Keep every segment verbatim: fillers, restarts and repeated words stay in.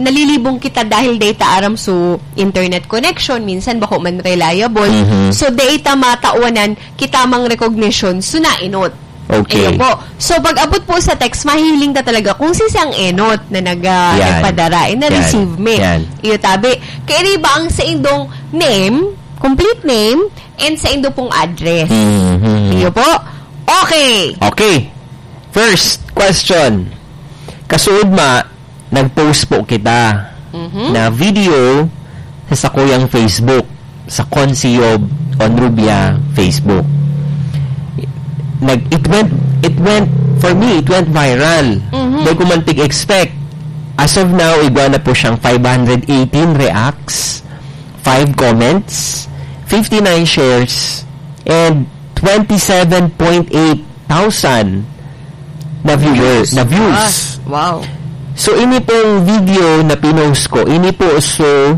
nalilibong kita dahil data aram so internet connection, minsan bako man reliable. Mhm. So, data matawanan kita mang recognition, so naenot. Okay. Iyo po. So, pag abot po sa text, mahiling ka talaga kung si siyang enot na nag, ah, Yan. nagpadara, eh, na-receive Yan. me. Yan. Iyo tabi. Kaya di ba ang sa indong name, complete name, and sa indo pong address. Mhm. Iyo po. Okay. Okay. First question. Kasuod ma, nag-post po kita Mhm. na video sa sakuyang Facebook, sa Consiyob Onrubia Facebook. Nag, it went, it went, for me, it went viral. Mhm. Dai ko man tig-expect. As of now, igwa na po siyang five hundred eighteen reacts, five comments, fifty-nine shares, and twenty-seven point eight thousand na viewer, Views. na views. Ah, wow. So, ini pong video na pinost ko, ini po so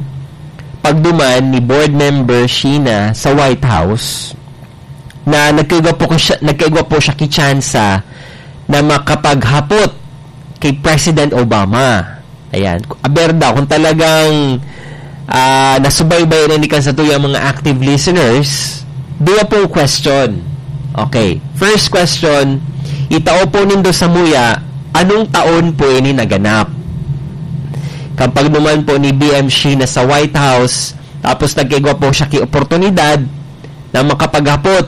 pagduman ni board member Sheena sa White House na nagkaigwa po ko siya, nagkaigwa po siya ki tsansa na makapaghapot kay President Obama. Ayan. Aber daw, kung talagang, ah, nasubaybay na ni kan sa tuyang mga active listeners, duwa pong question. Okay. First question, itao po nindo samuya, anong taon po ini naganap? Kapag naman po ni B M Sheena sa White House, tapos nagkaigwa po siya ki oportunidad na makapaghapot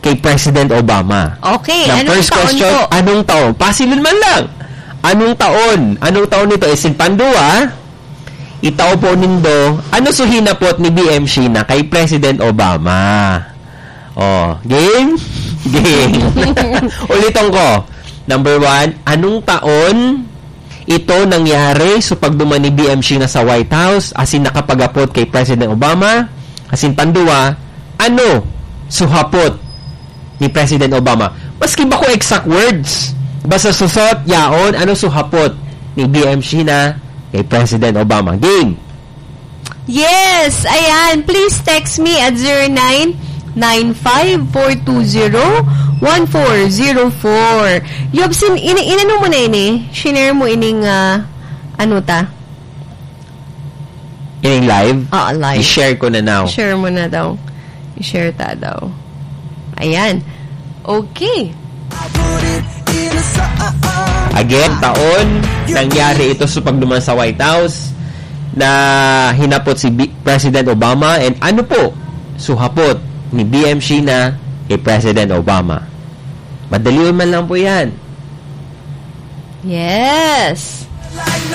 kay President Obama. Okay, Na anong first taon question, po? anong taon? Pasilon man lang. Anong taon? Anong taon nito? Isin pandua, itao po nindo, ano so hinapot ni B M Sheena kay President Obama? Oh, game? Game. Uliton ko. Number one, anong taon ito nangyari? So, pagduman ni B M Sheena sa White House, asin nakapaghapot kay President Obama, asin pandua, ano so hapot ni President Obama? Maski bako exact words, basta susot, yaon, ano so hapot ni B M Sheena kay President Obama? Game. Yes, ayan. Please text me at zero nine nine five four two zero one four zero four. Yobsin, ini-, inano mo na ini? Shinare mo ining, ah, ano ta? Ining live? Oo, live. I-share ko na now. Share mo na daw. I-share ta daw. Ayan. Okay. Again, taon, nangyari ito sa pagduman sa White House na hinapot si B-, President Obama, and ano po, suhapot ni B M Sheena kay President Obama. Madali man lang po yan. Yes.